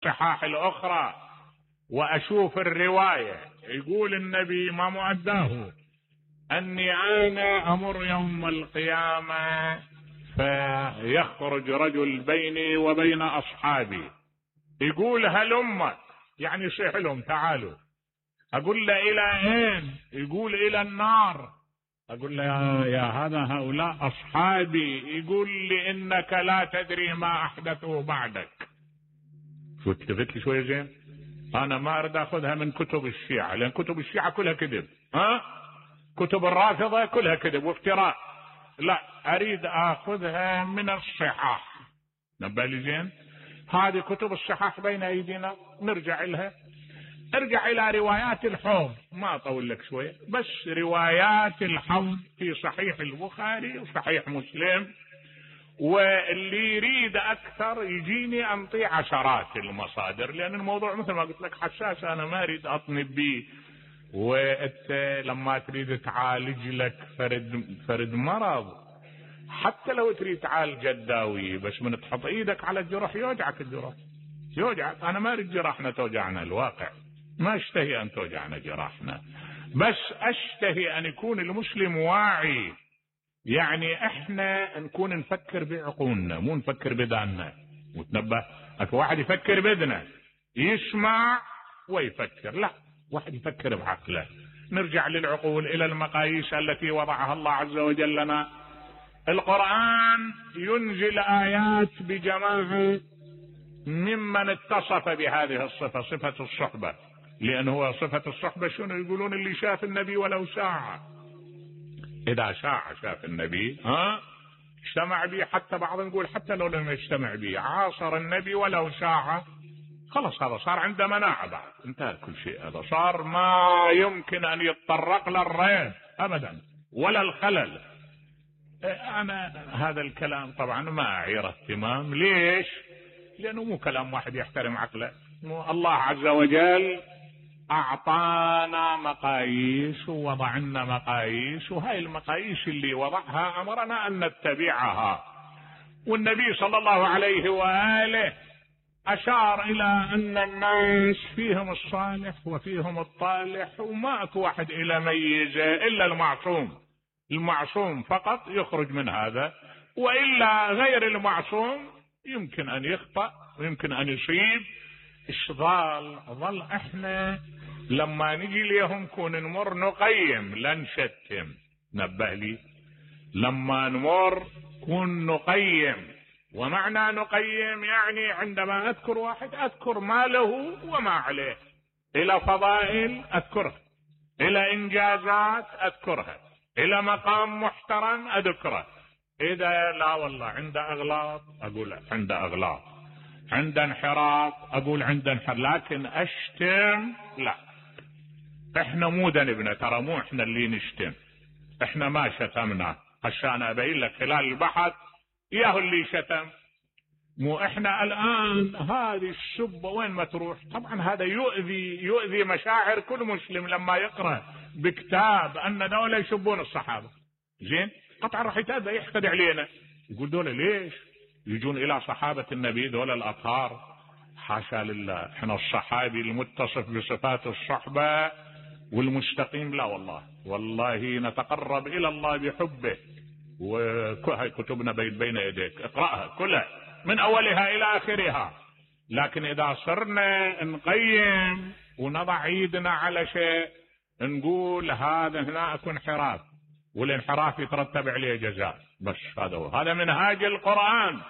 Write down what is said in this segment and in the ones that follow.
الصحاح الأخرى وأشوف الرواية، يقول النبي ما مؤداه أني أنا أمر يوم القيامة فيخرج رجل بيني وبين أصحابي يقول هلم، يعني يصيح لهم تعالوا. أقول له إلى أين؟ يقول إلى النار. أقول له يا هذا هؤلاء أصحابي. يقول لي إنك لا تدري ما أحدثوا بعدك. شو التفت لي شوية زين؟ أنا ما أريد أخذها من كتب الشيعة، لأن كتب الشيعة كلها كذب، كتب الرافضة كلها كذب وافتراء. لا، أريد أخذها من الصحاح. نبه لي زين؟ هذه كتب الصحاح بين أيدينا، نرجع لها. ارجع إلى روايات الحوض، ما أطول لك شوية، بس روايات الحوض في صحيح البخاري وصحيح مسلم. واللي يريد أكثر يجيني أنطي عشرات المصادر، لأن الموضوع مثل ما قلت لك حساس، أنا ما أريد أطنب به. وأنت لما تريد تعالج لك فرد مرض، حتى لو تريد تعالج جداوي، بس من تحط إيدك على الجرح يوجعك الجرح، يوجعك. أنا ما أريد جراحنا توجعنا، الواقع ما أشتهي أن توجعنا جراحنا، بس أشتهي أن يكون المسلم واعي. يعني احنا نكون نفكر بعقولنا، مو نفكر بداننا. وتنبه، اكو واحد يفكر بدنا، يسمع ويفكر، لا، واحد يفكر بعقله. نرجع للعقول، الى المقاييس التي وضعها الله عز وجل لنا. القرآن ينزل آيات بجماعة ممن اتصف بهذه الصفة، صفة الصحبة، لأنه هو صفة الصحبة شنو يقولون؟ اللي شاف النبي ولو ساعة، إذا شاف النبي اجتمع به، حتى بعض نقول حتى لو لم يجتمع به، عاصر النبي ولو ساعة، خلص هذا صار عنده مناعة، بعد انتهى كل شيء. هذا صار ما يمكن أن يتطرق للريب أبدا ولا الخلل. أنا هذا الكلام طبعا ما أعير اهتمام. ليش؟ لأنه مو كلام واحد يحترم عقله. الله عز وجل أعطانا مقاييس ووضع لنا مقاييس، وهاي المقاييس اللي وضعها أمرنا أن نتبعها. والنبي صلى الله عليه وآله أشار إلى أن الناس فيهم الصالح وفيهم الطالح، وما أكو واحد إلى ميزة إلا المعصوم. المعصوم فقط يخرج من هذا، وإلا غير المعصوم يمكن أن يخطأ ويمكن أن يصيب. ظل احنا لما نجي ليهم كون نمر نقيم لا نشتم. نبه لي، لما نمر كون نقيم. ومعنى نقيم يعني عندما اذكر واحد اذكر ما له وما عليه، الى فضائل اذكرها، الى انجازات اذكرها، الى مقام محترم اذكره. اذا لا والله عنده اغلاط اقول عنده اغلاط، عند انحراف اقول عند انحراف، لكن اشتم لا. احنا مو ذنبنا، ترى مو احنا اللي نشتم، احنا ما شتمنا. عشان ابين لك خلال البحث ياهو اللي شتم، مو احنا. الان هذه السبه وين ما تروح طبعا هذا يؤذي مشاعر كل مسلم لما يقرأ بكتاب ان دولة يسبون الصحابة. زين، قطعا راح يتأذى يحقد علينا، يقول دولة ليش يجون الى صحابة النبي دولة الاطهار؟ حاشا لله، احنا الصحابي المتصف بصفات الصحبة والمستقيم، لا والله نتقرب الى الله بحبه. وهي كتبنا بين يديك، اقرأها كلها من اولها الى اخرها. لكن اذا صرنا نقيم ونضع ايدنا على شيء نقول هذا هنا اكو انحراف، والانحراف يترتب عليه جزاء، بس هذا منهاج القرآن.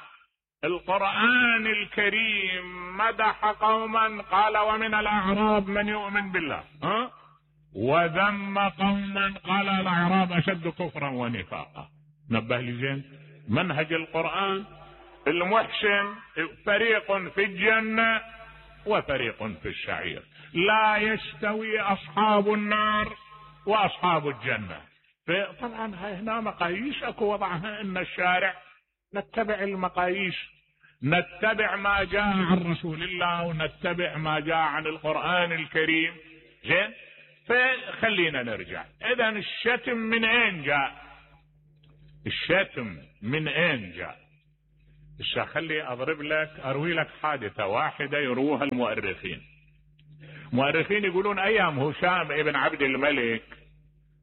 القرآن الكريم مدح قوما قال ومن الأعراب من يؤمن بالله، وذم قوما قال الأعراب أشد كفرا ونفاقا. نبه لي زين، منهج القرآن المحسن فريق في الجنة وفريق في السعير، لا يستوي أصحاب النار وأصحاب الجنة. طبعا هنا مقاييس اكو وضعها، ان الشارع نتبع المقاييس، نتبع ما جاء عن رسول الله ونتبع ما جاء عن القرآن الكريم. زين، فخلينا نرجع. اذا الشتم من اين جاء؟ الشتم من اين جاء؟ الشيخ خلي اروي لك حادثة واحدة يروها المؤرخين يقولون ايام هشام ابن عبد الملك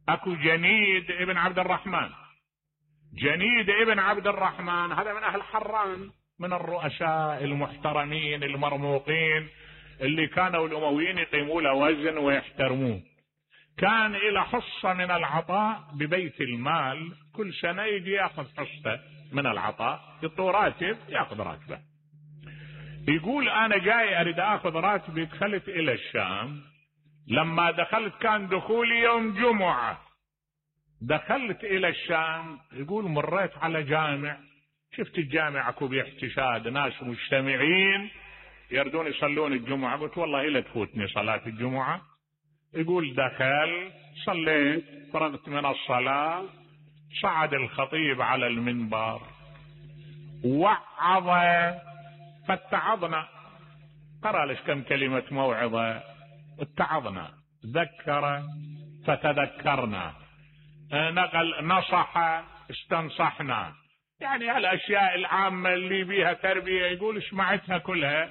اكو جنيد ابن عبد الرحمن. جنيد ابن عبد الرحمن هذا من اهل حران، من الرؤساء المحترمين المرموقين اللي كانوا الامويين يقيموا له وزن ويحترموه. كان الى حصة من العطاء ببيت المال، كل سنة يجي ياخذ حصة من العطاء، يعطوه راتب ياخذ راتبه. يقول انا جاي اريد اخذ راتبي، دخلت الى الشام. لما دخلت كان دخولي يوم جمعة، دخلت الى الشام. يقول مريت على جامع، شفت الجامع اكو باحتشاد، ناس مجتمعين يردون يصلون الجمعة. قلت والله لا تفوتني صلاة الجمعة. يقول دخل صليت، فرغت من الصلاة، صعد الخطيب على المنبر وعظ، فاتعظنا، قرأ لش كم كلمة موعظة، اتعظنا، ذكر فتذكرنا، نقل نصح استنصحنا، يعني هالاشياء العامة اللي بيها تربية. يقول سمعتها كلها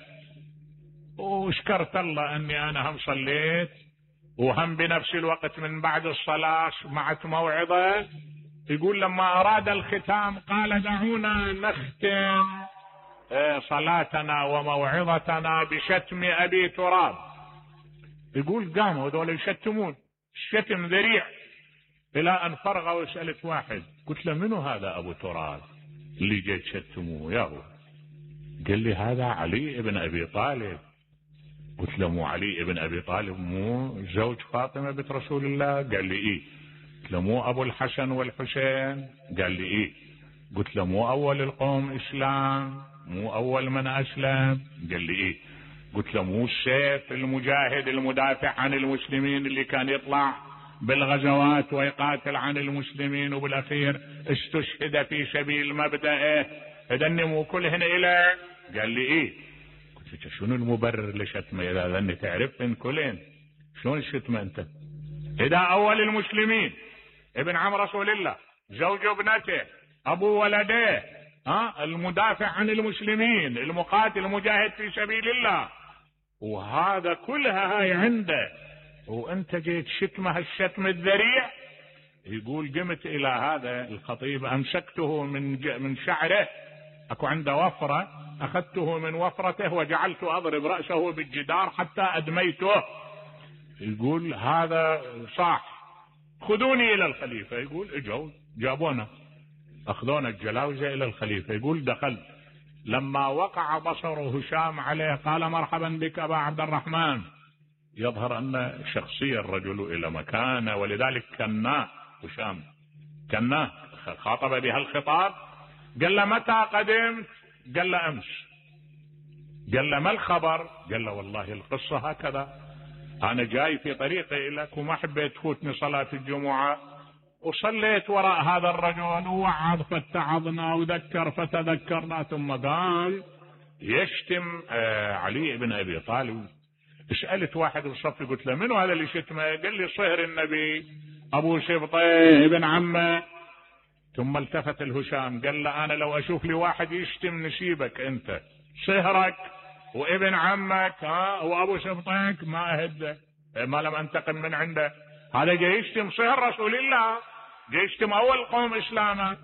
وشكرت الله اني انا هم صليت وهم بنفس الوقت من بعد الصلاة سمعت موعظة. يقول لما اراد الختام قال دعونا نختم صلاتنا وموعظتنا بشتم ابي تراب. يقول قاموا هذول يشتمون، الشتم ذريع، الى ان فرغوا. وسألت واحد قلت له منو هذا ابو تراب اللي جاي تشتموه يا هو؟ قال لي هذا علي ابن ابي طالب. قلت له مو علي ابن ابي طالب مو زوج فاطمة بنت رسول الله؟ قال لي ايه. قلت له مو ابو الحسن والحسين؟ قال لي ايه. قلت له مو اول القوم اسلام، مو اول من اسلم؟ قال لي ايه. قلت له مو السيف المجاهد المدافع عن المسلمين اللي كان يطلع بالغزوات ويقاتل عن المسلمين وبالاخير استشهد في سبيل مبدأه؟ هذني مو كلهن إله؟ قال لي ايه. قلت شنو المبرر لشتمه اذا ذني تعرفن كلهن؟ شلون الشتمه انت؟ اذا اول المسلمين، ابن عم رسول الله، زوج ابنته، ابو ولديه، المدافع عن المسلمين، المقاتل المجاهد في سبيل الله، وهذا كلها هاي عنده، وانت جيت شتمه الشتم الذريع. يقول قمت الى هذا الخطيب امسكته من شعره، اكو عنده وفرة، اخذته من وفرته وجعلت اضرب رأسه بالجدار حتى ادميته. يقول هذا صاح، خذوني الى الخليفة. يقول اجوا جابونا، اخذونا الجلاوزة الى الخليفة. يقول دخلت، لما وقع بصر هشام عليه قال مرحبا بك ابا عبد الرحمن. يظهر ان شخصية الرجل الى مكانه، ولذلك كناه هشام، كناه، خاطب بها الخطاب. قال له متى قدمت؟ قال له امس. قال له ما الخبر؟ قال له والله القصة هكذا، انا جاي في طريقي لك وما حبيت تفوتني صلاة الجمعة، وصليت وراء هذا الرجل ووعظ فاتعظنا وذكر فتذكرنا، ثم قال يشتم علي بن ابي طالب. سألت واحد بالصف قلت له منو هذا اللي شتمه؟ قال لي صهر النبي ابو سبطي ابن عمه. ثم التفت الهشام قال له انا لو اشوف لي واحد يشتم نسيبك انت، صهرك وابن عمك وابو سبطيك ما اهده، ما لم انتقم من عنده. هذا جاي يشتم صهر رسول الله، جاي يشتم اول قوم اسلاما.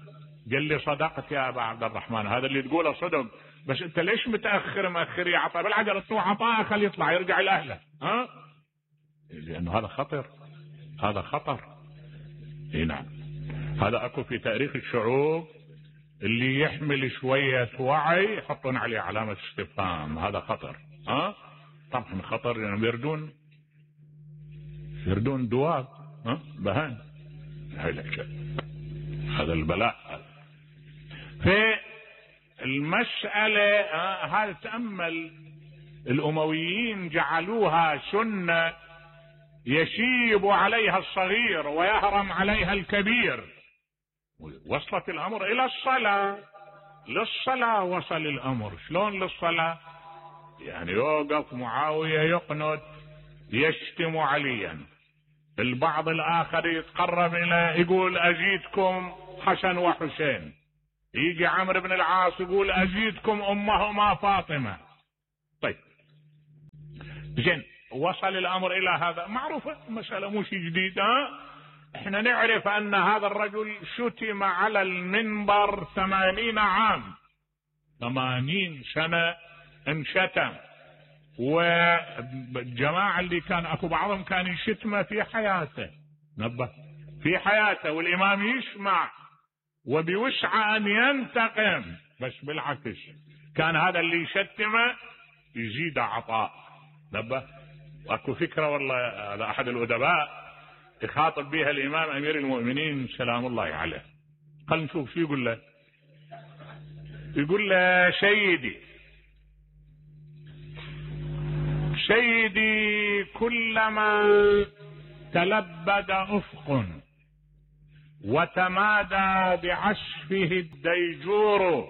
قال لي صدقت يا ابا عبد الرحمن، هذا اللي تقوله صدق، بس انت ليش متاخر يعطى بالعجل؟ الطوع عطاه خليه يطلع يرجع لاهله، لانه هذا خطر، هذا خطر. اي نعم، هذا اكو في تاريخ الشعوب اللي يحمل شوية وعي يحطون عليه علامة استفهام، هذا خطر. طبعا خطر، يعني يردون دواب، بهان، هذا البلاء. في المسألة هذا تأمل، الأمويين جعلوها سنة يشيب عليها الصغير ويهرم عليها الكبير، وصلت الأمر إلى الصلاة، للصلاة وصل الأمر. شلون للصلاة؟ يعني يوقف معاوية يقنت يشتم عليا، البعض الآخر يتقرب إلى يقول أجيدكم حسن وحسين، يجي عمرو بن العاص يقول أزيدكم أمهما فاطمة. طيب زين، وصل الأمر إلى هذا، معروفة مسألة مو شيء جديد. احنا نعرف أن هذا الرجل شتم على المنبر 80 عام، 80 سنة انشتم، والجماعة اللي كان اكو بعضهم كان يشتمه في حياته، نبه في حياته، والإمام يسمع وبوسعه أن ينتقم، بس بالعكس كان هذا اللي يشتمه يزيد عطاء، نبه. واكو فكرة والله، هذا أحد الأدباء يخاطب بها الإمام أمير المؤمنين سلام الله عليه. خلينا نشوف شو يقول له. يقول له سيدي كلما تلبد أفق وتمادى بعشفه الديجور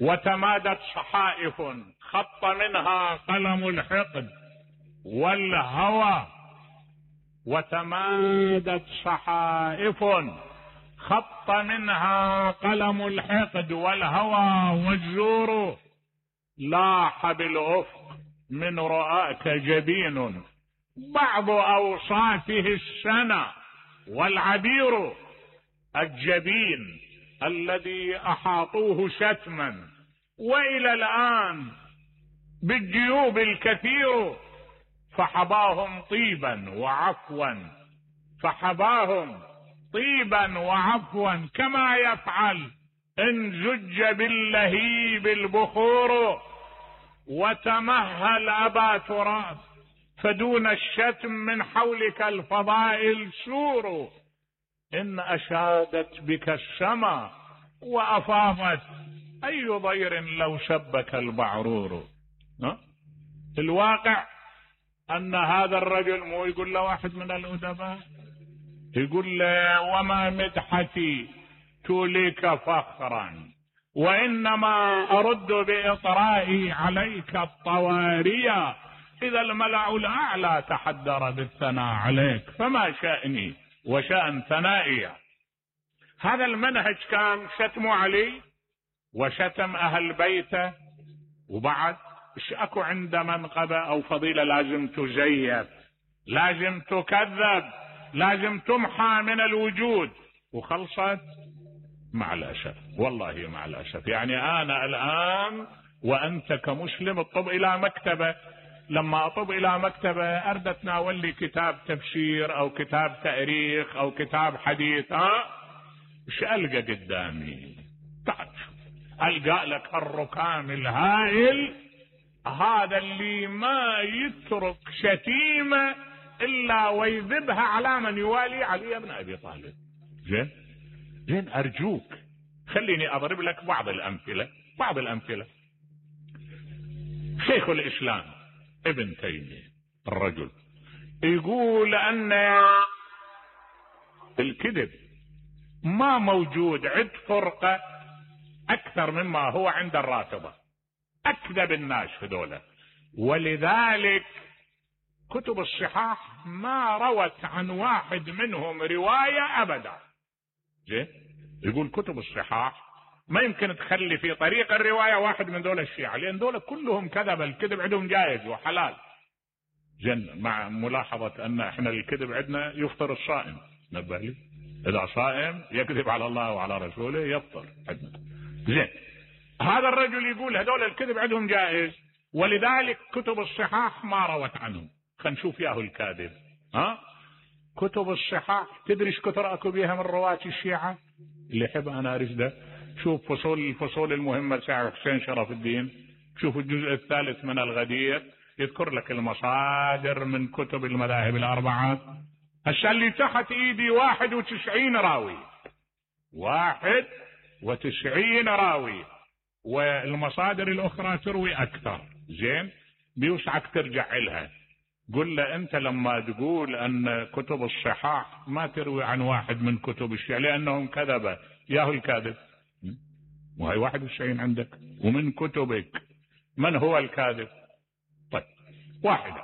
وتمادت صحائف خط منها قلم الحقد والهوى، وتمادت صحائف خط منها قلم الحقد والهوى والزور، لاح بالأفق من رؤاك جبين بعض أوصافه السنة والعبير، الجبين الذي أحاطوه شتما وإلى الآن بالجيوب الكثير، فحباهم طيبا وعفوا، فحباهم طيبا وعفوا كما يفعل إن زج باللهيب البخور، وتمهل أبا تراب فدون الشتم من حولك الفضائل سور، إن أشادت بك السما وأفاضت أي ضير لو شبك البعرور. الواقع أن هذا الرجل مو يقول له واحد من الأدباء، يقول له وما مدحتي توليك فخرا وإنما أرد بإطرائي عليك الطوارية، إذا الملأ الأعلى تحدر بالثناء عليك فما شأني وشأن ثنائي. هذا المنهج كان شتم علي وشتم أهل بيته، وبعد ايش اكو عنده منقبة أو فضيلة لازم تزيف، لازم تكذب، لازم تمحى من الوجود، وخلصت مع الأسف، والله مع الأسف. يعني أنا الآن وأنت كمسلم اطب إلى مكتبة، لما أطب إلى مكتبة أرد أتناول لي كتاب تفسير أو كتاب تاريخ أو كتاب حديث، ايش ألقى قدامي؟ تعال ألقى لك الركام الهائل، هذا اللي ما يترك شتيمة إلا ويذبها على من يوالي علي بن أبي طالب. زين أرجوك خليني أضرب لك بعض الأمثلة. شيخ الإسلام ابن تيمية الرجل يقول أن الكذب ما موجود عند فرقة أكثر مما هو عند الرافضة، أكذب الناس هذولا، ولذلك كتب الصحاح ما روت عن واحد منهم رواية أبدا. يقول كتب الصحاح ما يمكن تخلي في طريق الرواية واحد من دول الشيعة، لأن دول كلهم كذب، الكذب عندهم جائز وحلال. مع ملاحظة أن احنا الكذب عندنا يفطر الصائم، نبه لي إذا صائم يكذب على الله وعلى رسوله يفطر عندنا. هذا الرجل يقول هذول الكذب عندهم جائز، ولذلك كتب الصحاح ما روت عنهم. خلينا نشوف ياهو الكاذب. كتب الصحاح تدري ايش كثر اكو بيها من رواة الشيعة؟ اللي يحب انا ارشده شوف الفصول المهمة سعر حسين شرف الدين، شوف الجزء الثالث من الغدير، يذكر لك المصادر من كتب المذاهب الأربعة. هسه اللي تحت ايدي 91 راوي، 91 راوي، والمصادر الأخرى تروي أكثر. بيوسعك ترجع لها. قل له أنت لما تقول أن كتب الصحاح ما تروي عن واحد من كتب الشيعة لأنهم كذبة، ياهو الكاذب. وهي 91 عندك، ومن كتبك من هو الكاذب؟ طيب واحدة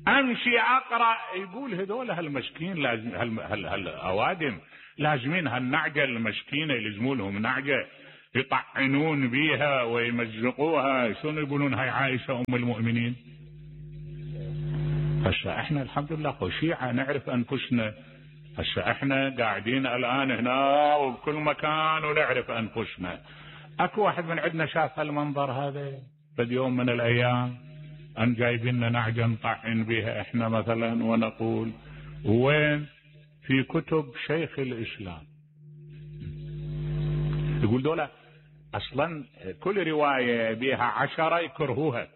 أمشي أقرأ، يقول هذول هالمسكين لازم هالأوادم لازمين هالنعجة المسكينة يلزموا لهم نعجة يطعنون بيها ويمزقوها، شنو يقولون هاي عائشة ام المؤمنين؟ هسه احنا الحمد لله شيعة نعرف انفسنا، هسه احنا قاعدين الان هنا وبكل مكان ونعرف انفسنا. اكو واحد من عندنا شاف هالمنظر هذا بد يوم من الايام ان جايبين لنا نعجة نطعن بها احنا مثلا ونقول وين؟ في كتب شيخ الاسلام. يقول دولة اصلا كل رواية بها 10 يكرهوها،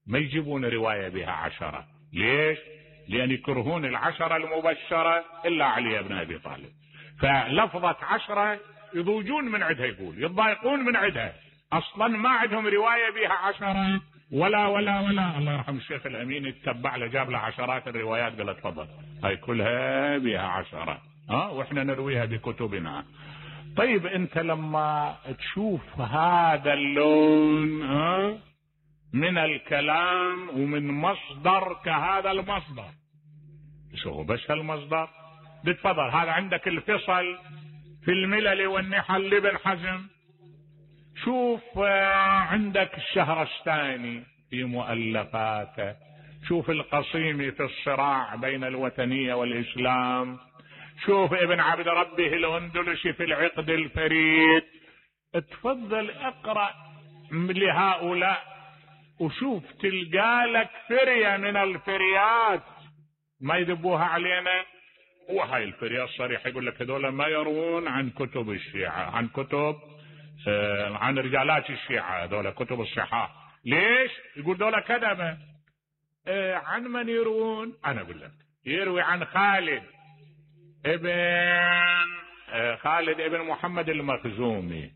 ما يجيبون رواية بها 10. ليش؟ لان يكرهون 10 المبشرة الا علي بن ابي طالب، فلفظة 10 يضوجون من عندها، يقول يتضايقون من عندها، اصلا ما عندهم رواية بها 10 ولا ولا ولا. الله يرحم الشيخ الامين يتبع له جاب له عشرات الروايات، قال تفضل هاي كلها بها 10 واحنا نرويها بكتبنا. طيب انت لما تشوف هذا اللون من الكلام ومن مصدر كهذا المصدر، شو بس هالمصدر بتفضل. هذا عندك الفصل في الملل والنحل لابن حزم، شوف عندك الشهرستاني في مؤلفاته، شوف القصيمي في الصراع بين الوثنية والإسلام، شوف ابن عبد ربه الأندلسي في العقد الفريد. تفضل اقرأ لهؤلاء وشوف تلقى لك فرية من الفريات ما يذبوها علينا. وهاي الفرية الصريحة يقول لك هذول ما يروون عن كتب الشيعة، عن كتب عن رجالات الشيعة، هذول كتب الصحاح. ليش؟ يقول دول كذبة. عن من يروون؟ أنا أقول لك يروي عن خالد ابن محمد المخزومي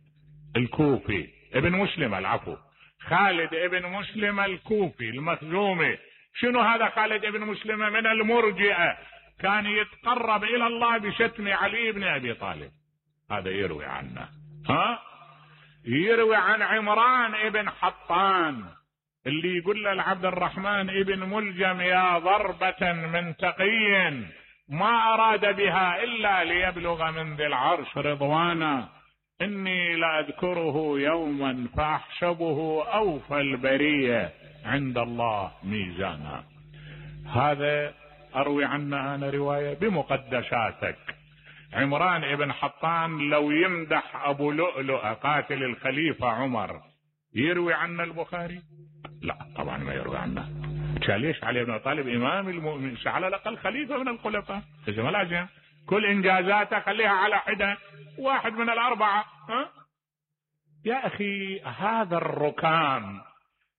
الكوفي، ابن مسلم العفو، خالد ابن مسلم الكوفي المخزومي. شنو هذا خالد ابن مسلم؟ من المرجئة، كان يتقرب إلى الله بشتم علي بن أبي طالب. هذا يروي عنه. يروي عن عمران ابن حطان اللي يقول له العبد الرحمن ابن ملجم يا ضربة من تقي ما أراد بها إلا ليبلغ من ذي العرش رضوانا، إني لأذكره يوما فأحسبه أوفى البرية عند الله ميزانا. هذا أروي عنه أنا رواية بمقدساتك. عمران ابن حطان لو يمدح أبو لؤلؤ قاتل الخليفة عمر يروي عنه البخاري؟ لا طبعا ما يروي عنه. ليش؟ علي بن طالب إمام المؤمنين، على الأقل خليفة من الخلفاء، إذا ما لازم كل إنجازاته خليها على حدة، واحد من الأربعة. يا أخي هذا الركام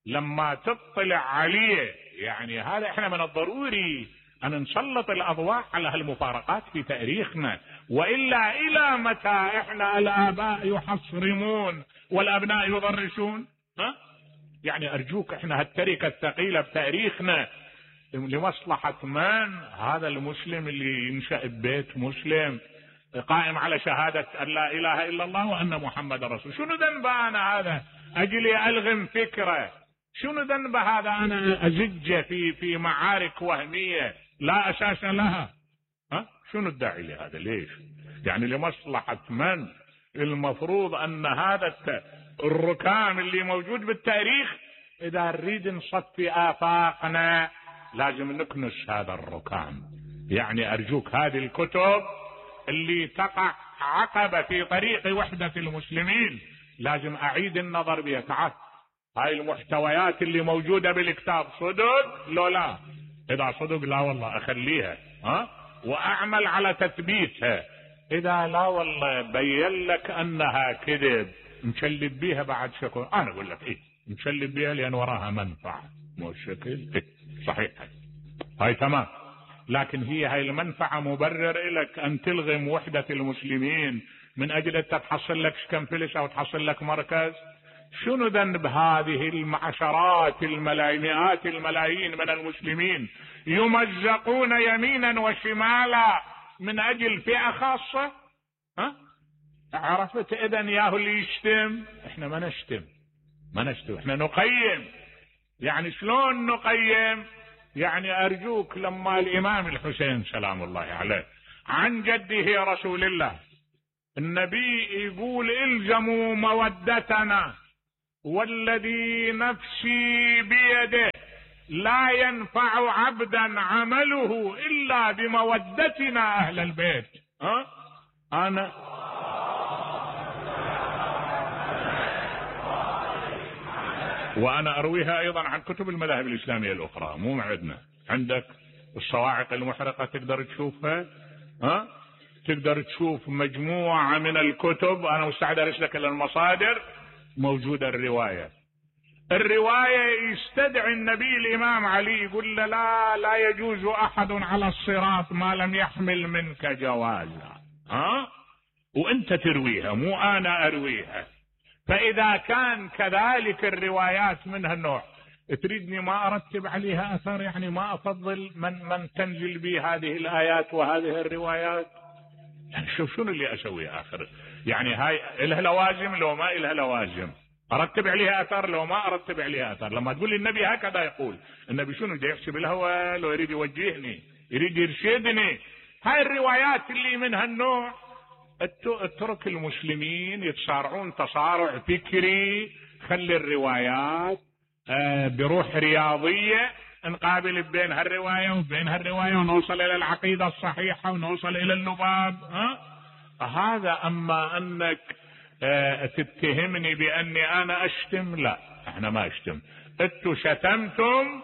لما تطلع عليه، يعني هذا احنا من الضروري أن نسلط الأضواء على هالمفارقات في تاريخنا، وإلا إلى متى احنا الآباء يحصرمون والأبناء يضرسون؟ يعني أرجوك احنا هالتركة الثقيلة بتاريخنا لمصلحة من؟ هذا المسلم اللي ينشأ ببيت مسلم قائم على شهادة أن لا إله إلا الله وأن محمد رسول. شنو ذنب أنا هذا أجلي ألغم فكرة؟ شنو ذنب هذا أنا أزج في معارك وهمية لا أساس لها؟ شنو الداعي لهذا؟ ليش؟ يعني لمصلحة من؟ المفروض أن هذا الركام اللي موجود بالتاريخ إذا نريد نصفي آفاقنا لازم نكنس هذا الركام. يعني أرجوك هذه الكتب اللي تقع عقبة في طريق وحدة المسلمين لازم أعيد النظر بها. تعال هاي المحتويات اللي موجودة بالكتاب صدق لو لا؟ إذا صدق لا والله أخليها وأعمل على تثبيتها، إذا لا والله بين لك أنها كذب نشلب بيها بعد شكل. أنا أقول لك إيه نشلب بيها لأن وراها منفعة، مو الشكل صحيح هاي تمام، لكن هاي المنفعة مبرر لك أن تلغم وحدة المسلمين من أجل أن تحصل لك كم فلس أو تحصل لك مركز؟ شنو ذنب هذه المعشرات مئات الملايين من المسلمين يمزقون يمينا وشمالا من أجل فئة خاصة؟ عرفت؟ إذن ياهو اللي يشتم، احنا ما نشتم احنا نقيم. يعني شلون نقيم؟ يعني أرجوك لما الإمام الحسين سلام الله عليه عن جده رسول الله النبي يقول الزموا مودتنا والذي نفسي بيده لا ينفع عبدا عمله إلا بمودتنا أهل البيت. أنا وأنا أرويها أيضا عن كتب المذاهب الإسلامية الأخرى، مو عندنا. عندك الصواعق المحرقة تقدر تشوفها، تقدر تشوف مجموعة من الكتب، أنا مستعد أرسلك إلى المصادر، موجودة الرواية يستدعي النبي الإمام علي يقول له لا يجوز أحد على الصراط ما لم يحمل منك جوازا، وأنت ترويها مو أنا أرويها. فإذا كان كذلك الروايات من هالنوع تريدني ما أرتب عليها أثر، يعني ما أفضل من تنزل بي هذه الآيات وهذه الروايات؟ يعني شوف شنو اللي أسوي آخر، يعني هاي إلها لوازم لو ما إلها لوازم، أرتب عليها أثر لو ما أرتب عليها أثر. لما تقول لي النبي هكذا يقول، النبي شنو جاي يحسب الهوى لو يريد يوجهني يريد يرشدني؟ هاي الروايات اللي من هالنوع اترك المسلمين يتصارعون تصارع فكري، خلي الروايات بروح رياضية نقابل بين هالرواية وبين هالرواية ونوصل إلى العقيدة الصحيحة ونوصل إلى اللباب. هذا. أما أنك تتهمني بأني أنا أشتم، لا احنا ما أشتم، انتوا شتمتم.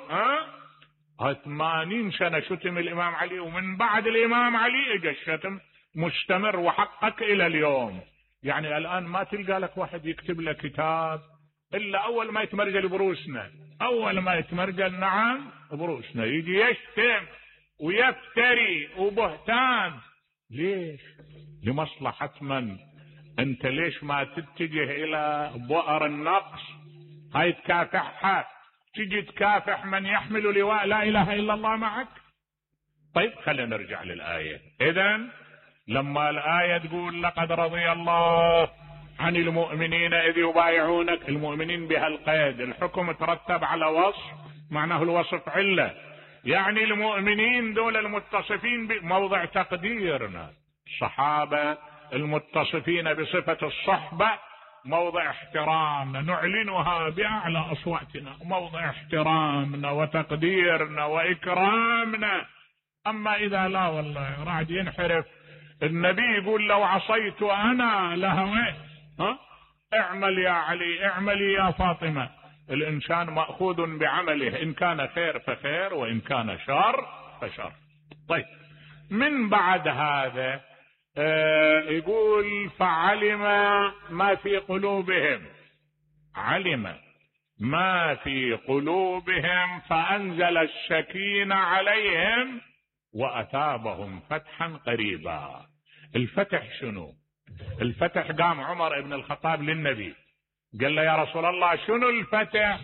80 سنة شتم الإمام علي، ومن بعد الإمام علي اجى الشتم مستمر وحقق إلى اليوم. يعني الآن ما تلقى لك واحد يكتب لك كتاب إلا أول ما يتمرجل بروسنا، أول ما يتمرجل نعم بروسنا يجي يشتم ويفتري وبهتان. ليش؟ لمصلحة من؟ أنت ليش ما تتجه إلى بؤر النقص؟ هاي تكافحها، تجي تكافح من يحمل لواء لا إله إلا الله معك. طيب خلينا نرجع للآية. إذن لما الآية تقول لقد رضي الله عن المؤمنين إذ يبايعونك، المؤمنين بها القيد، الحكم ترتب على وصف معناه الوصف علة، يعني المؤمنين دول المتصفين بموضع تقديرنا، الصحابة المتصفين بصفة الصحبة موضع احترامنا نعلنها بأعلى أصواتنا، موضع احترامنا وتقديرنا وإكرامنا. أما إذا لا والله راح ينحرف، النبي يقول لو عصيت أنا لهويت، اعمل يا علي اعملي يا فاطمة. الإنسان مأخوذ بعمله، إن كان خير فخير وإن كان شر فشر. طيب من بعد هذا يقول فعلم ما في قلوبهم، علم ما في قلوبهم فأنزل السكينة عليهم وأثابهم فتحا قريبا. الفتح شنو؟ الفتح قام عمر بن الخطاب للنبي قال له يا رسول الله شنو الفتح؟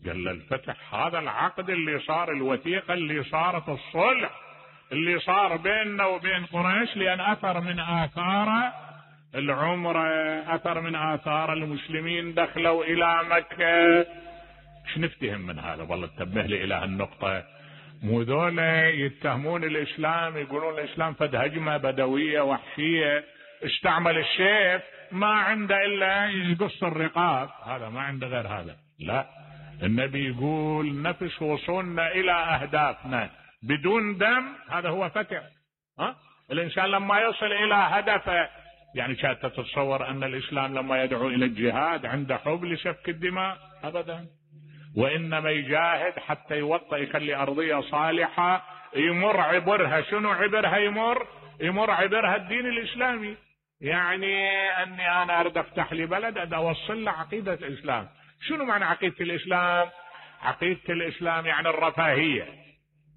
قال له الفتح هذا العقد اللي صار، الوثيقة اللي صارت، الصلح اللي صار بيننا وبين قريش، لأن أثر من آثار العمرة، أثر من آثار المسلمين دخلوا إلى مكة. ايش نفتهم من هذا؟ والله تنبه لي إلى هالنقطة. مو ذولا يتهمون الإسلام، يقولون الإسلام فد هجمة بدوية وحشية، استعمل السيف، ما عنده إلا يقص الرقاب، هذا ما عنده غير هذا. لا، النبي يقول نفس وصولنا إلى أهدافنا بدون دم، هذا هو فتح. الإنسان لما يصل إلى هدفه، يعني كانت تتصور أن الإسلام لما يدعو إلى الجهاد عنده حب لسفك الدماء؟ أبدا، وإنما يجاهد حتى يوطئ يخلي أرضية صالحة يمر عبرها. شنو عبرها؟ يمر عبرها الدين الإسلامي. يعني أني أنا أريد أفتح لي بلد أريد أوصل له عقيدة الإسلام. شنو معنى عقيدة الإسلام؟ عقيدة الإسلام يعني الرفاهية،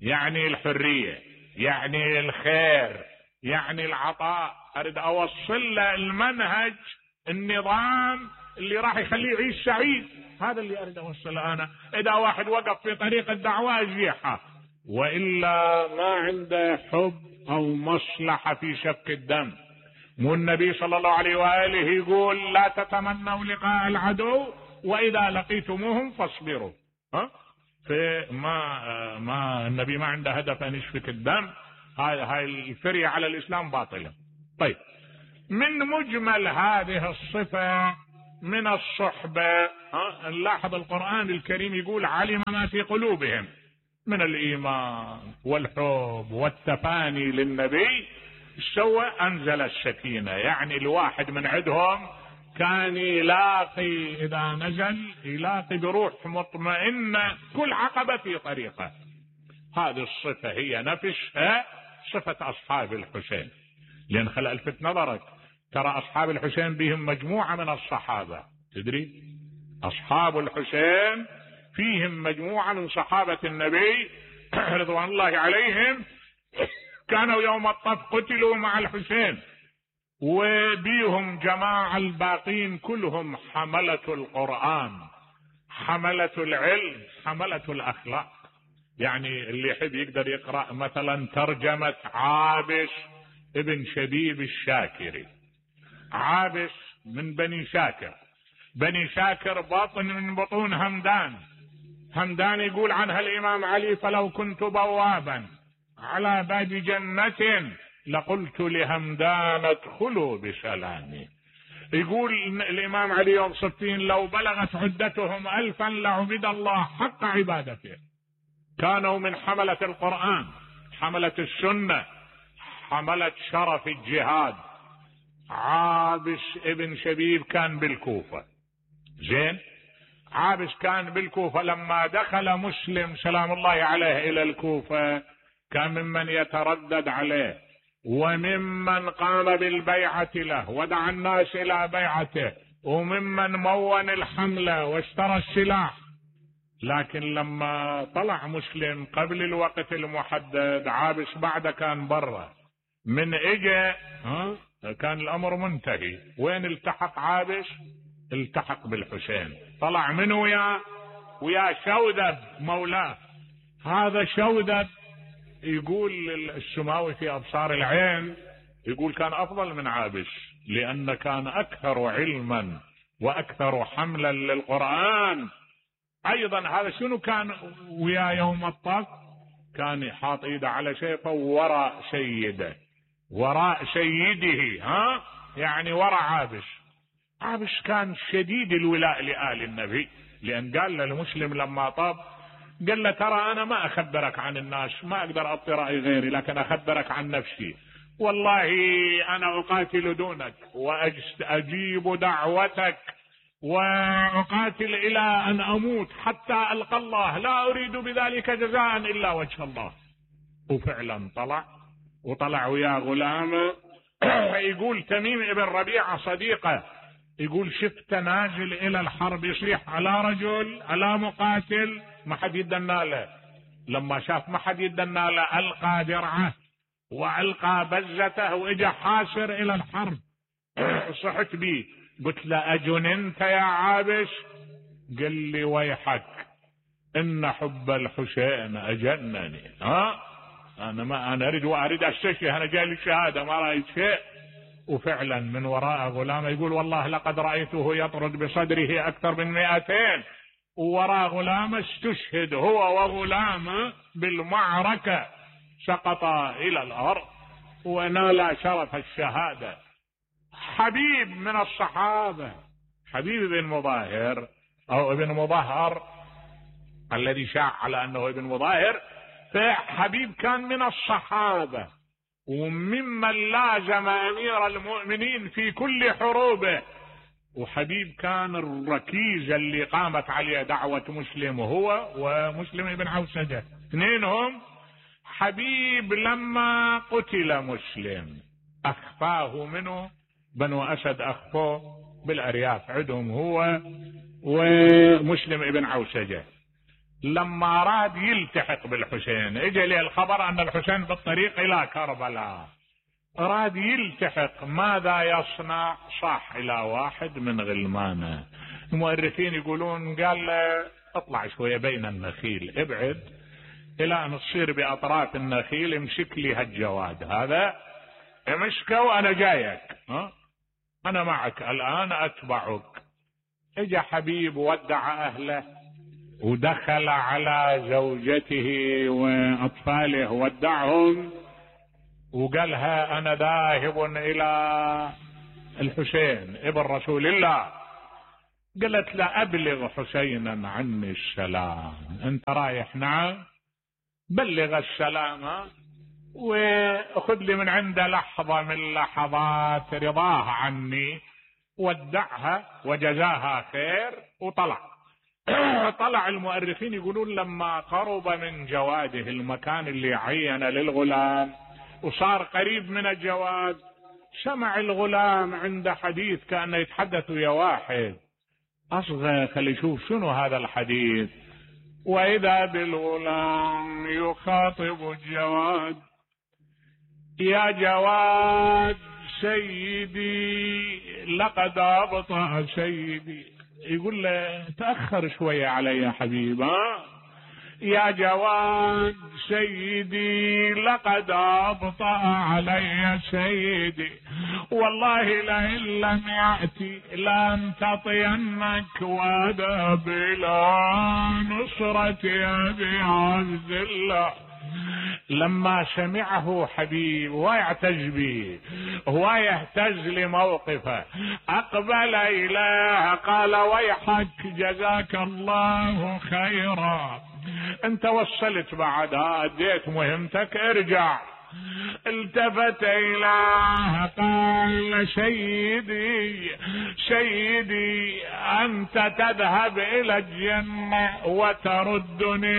يعني الحرية، يعني الخير، يعني العطاء. أريد أوصل له المنهج، النظام اللي راح يخليه يعيش سعيد، هذا اللي أريد أوصله أنا. إذا واحد وقف في طريق الدعوة أزيحه، وإلا ما عنده حب أو مصلحة في سفك الدم. مو النبي صلى الله عليه وآله يقول لا تتمنوا لقاء العدو وإذا لقيتموهم فاصبروا. ما النبي ما عنده هدف أن يسفك الدم. هاي الفرية على الإسلام باطلة. طيب من مجمل هذه الصفة من الصحبة، نلاحظ القرآن الكريم يقول علم ما في قلوبهم من الإيمان والحب والتفاني للنبي. سوى أنزل السكينة، يعني الواحد من عندهم كان يلاقي إذا نزل يلاقي بروح مطمئنة كل عقبة في طريقه. هذه الصفة هي نفسها صفة أصحاب الحسين. لأن خل ألفت نظرك، ترى أصحاب الحسين بهم مجموعة من الصحابة، تدري أصحاب الحسين فيهم مجموعة من صحابة النبي رضوان الله عليهم كانوا يوم الطف قتلوا مع الحسين، وبيهم جماعة الباقين كلهم حملة القرآن، حملة العلم، حملة الأخلاق. يعني اللي يحب يقدر يقرأ مثلا ترجمة عابس ابن شبيب الشاكري. عابس من بني شاكر، بني شاكر بطن من بطون همدان. همدان يقول عنها الإمام علي فلو كنت بوابا على باب جنة لقلت لهمدان ادخلوا بسلامي. يقول الإمام علي يوم صفين لو بلغت عدتهم 1000 لعبد الله حق عبادته. كانوا من حملة القرآن، حملة السنة، حملة شرف الجهاد. عابس ابن شبيب كان بالكوفة، زين، عابس كان بالكوفة. لما دخل مسلم سلام الله عليه إلى الكوفة كان ممن يتردد عليه وممن قام بالبيعة له ودعا الناس إلى بيعته وممن مون الحملة واشترى السلاح. لكن لما طلع مسلم قبل الوقت المحدد عابس بعد كان برا. من اجى كان الامر منتهي. وين التحق عابس؟ التحق بالحسين. طلع من ويا شودب مولاه. هذا شودب يقول السماوي في أبصار العين يقول كان أفضل من عابس لأن كان أكثر علما وأكثر حملا للقرآن. أيضا هذا شنو كان ويا يوم الطف؟ كان يحاط إيده على شيفه وراء سيده، وراء سيده، يعني وراء عابس. عابس كان شديد الولاء لآل النبي، لأن قال للمسلم لما طاب قال له ترى أنا ما أخبرك عن الناس، ما أقدر أعطي رأي غيري، لكن أخبرك عن نفسي. والله أنا أقاتل دونك وأجيب دعوتك وأقاتل إلى أن أموت حتى ألقى الله، لا أريد بذلك جزاء إلا وجه الله. وفعلا طلع ويا غلامه. يقول تميم ابن ربيعة صديقه يقول شفت نازل إلى الحرب يصيح على رجل على مقاتل ما حد يدنا له. لما شاف ما حد يدنا له ألقى درعه وألقى بزته وإجا حاسر إلى الحرب. صحت بي قلت له أجننت يا عابس؟ قال لي ويحك إن حب الحسين أجنني. أنا أريد أستشهد، أنا جاي للشهادة ما رأيت شيء. وفعلا من وراء غلامه يقول والله لقد رأيته يطرد بصدره أكثر من 200، ووراء غلامه استشهد هو وغلامه بالمعركة، سقطا إلى الأرض ونال شرف الشهادة. حبيب من الصحابة، حبيب بن مظاهر أو ابن مظهر الذي شاع على أنه ابن مظاهر، فحبيب كان من الصحابة وممن لازم أمير المؤمنين في كل حروبه. وحبيب كان الركيزة اللي قامت عليه دعوة مسلم هو ومسلم بن عوسجة اثنينهم. حبيب لما قتل مسلم أخفاه منه بنو أسد، أخفوه بالأرياف عندهم هو ومسلم ابن عوسجة. لما أراد يلتحق بالحسين اجى له الخبر أن الحسين بالطريق إلى كربلاء، أراد يلتحق ماذا يصنع؟ صاح إلى واحد من غلمانه. المؤرخين يقولون قال له اطلع شوية بين النخيل، ابعد إلى أن تصير بأطراف النخيل، امسك لي هالجواد هذا امسكه وأنا جايك، أنا معك الآن أتبعك. اجى حبيب ودع أهله ودخل على زوجته وأطفاله ودعهم وقالها أنا ذاهب إلى الحسين ابن رسول الله. قالت له أبلغ حسينا عني السلام. أنت رايح؟ نعم. بلغ السلام وأخذ لي من عنده لحظة من لحظات رضاه عني، ودعها وجزاها خير. وطلع. طلع المؤرخين يقولون لما قرب من جواده المكان اللي عين للغلام وصار قريب من الجواد، سمع الغلام عند حديث كأنه يتحدث ويا واحد. أصغى خلي يشوف شنو هذا الحديث، وإذا بالغلام يخاطب الجواد: يا جواد سيدي لقد أبطأ سيدي. يقول له تأخر شوية علي يا حبيب. يا جواد سيدي لقد أبطأ علي سيدي، والله لئن لم يأتي لن تطينك وأذهب إلى نصرة أبي عبد الله. لما سمعه حبيب ويعتز به ويهتز لموقفه أقبل إليه قال: ويحك جزاك الله خيرا، انت وصلت بعد، اديت مهمتك، ارجع. التفت إليه قال: سيدي سيدي أنت تذهب إلى الجنة وتردني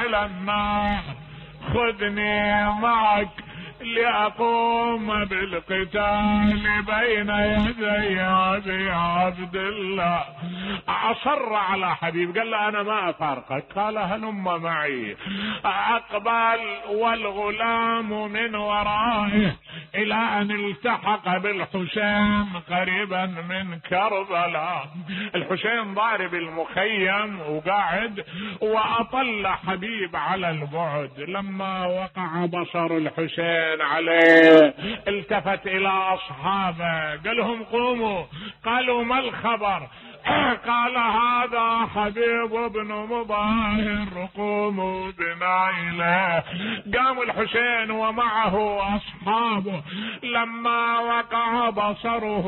إلى النار، خذني معك لأقوم بالقتال بين يدي أبي عبد الله. أصر على حبيب، قال له أنا ما أفارقك. قال: هلم معي. أقبل والغلام من ورائه إلى أن التحق بالحسين قريبا من كربلاء. الحسين ضارب المخيم وقاعد، وأطل حبيب على البعد. لما وقع بصر الحسين عليه التفت إلى أصحابه قال لهم: قوموا. قالوا: ما الخبر؟ قال: هذا حبيب بن مظاهر، قوموا بنا إليه. قام الحسين ومعه أصحابه. لما وقع بصره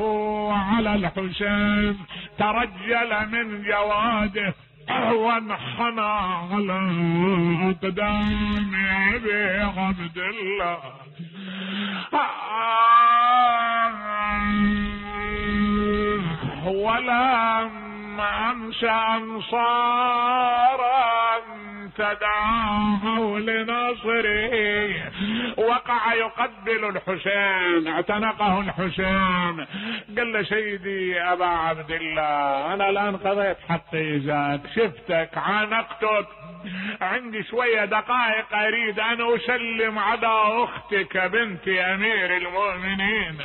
على الحسين ترجل من جواده وانحنى على أقدام أبي عبد الله. ولم أمس أنصارا تدعوا لنصره. وقع يقبل الحسين، اعتنقه الحسين. قال له: سيدي أبا عبد الله، أنا الآن قضيت حقي ذاك، شفتك عانقتك، عندي شوية دقائق أريد أن أسلم على أختك بنت أمير المؤمنين.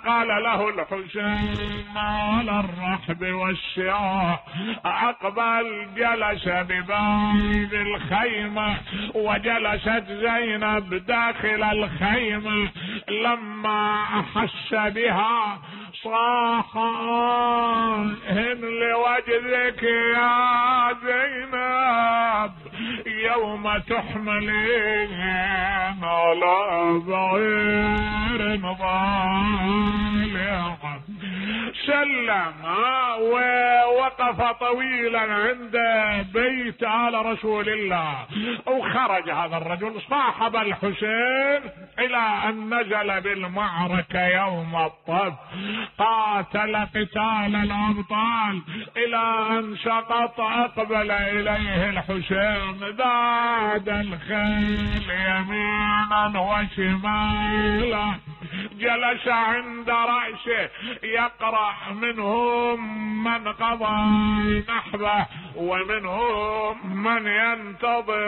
قال له الحسين: على الرحب والسعاء. أقبل جلس بباب الخيمة، وجلست زينب داخل الخيمة. لما أحس بها صاح: هن لوجدك يا زينب يوم تحملين على بعير ضالع. سلم ووقف طويلا عند بيت آل رسول الله. وخرج هذا الرجل صاحب الحسين إلى أن نزل بالمعركة يوم الطف، قاتل قتال الأبطال إلى أن سقط. أقبل إليه الحسين ذاد الخيل يمينا وشمالا، جلس عند رأسه يقرأ: منهم من قضى نحبه ومنهم من ينتظر